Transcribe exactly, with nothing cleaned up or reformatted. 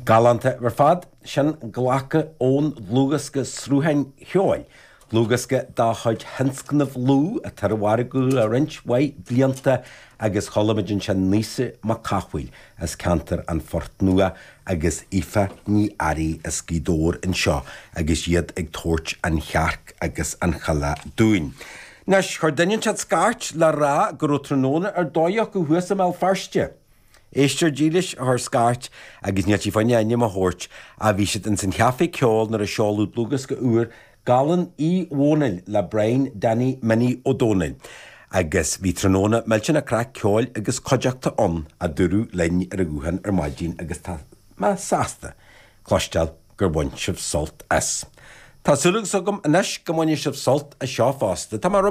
Galánta ar fad sin glactha ón dlúthdhiosca Srutháin Cheoil. Dlúthdhiosca de chuid Thionscnamh Lú atá ar an mhargadh le roinnt mhaith blianta agus chuala muid ansin Naoise Mac Cathmhaoil as ceantar an Phort Nua agus Aoife Ní Fhearraigh as Gaoth Dobhair anseo agus iad ag tabhairt an chearc agus an choileach dúinn. Anois chuir duine inteacht scairt le rá go raibh tráthnóna ar dóigh acu thuas i mBéal Feirste. Éisteoir dílis a chuir scairt agus níl sí fá choinne ainm a thabhairt a bhí siad ins an chaife ceoil nuair a seoladh dlúthdhiosca úr Galán Uí Dhónaill le Brian Danny Minnie Ó Dónaill. Agus bhí tráthnóna millteanach craic ceoil agus cuideachta ann a dúradh linn ar an ghuthán ar maidin agus tá mé sásta cloisteáil gur bhain sibh sult as. Tá súil agam anois go mbainfidh sibh sult as seo fosta. Tá mar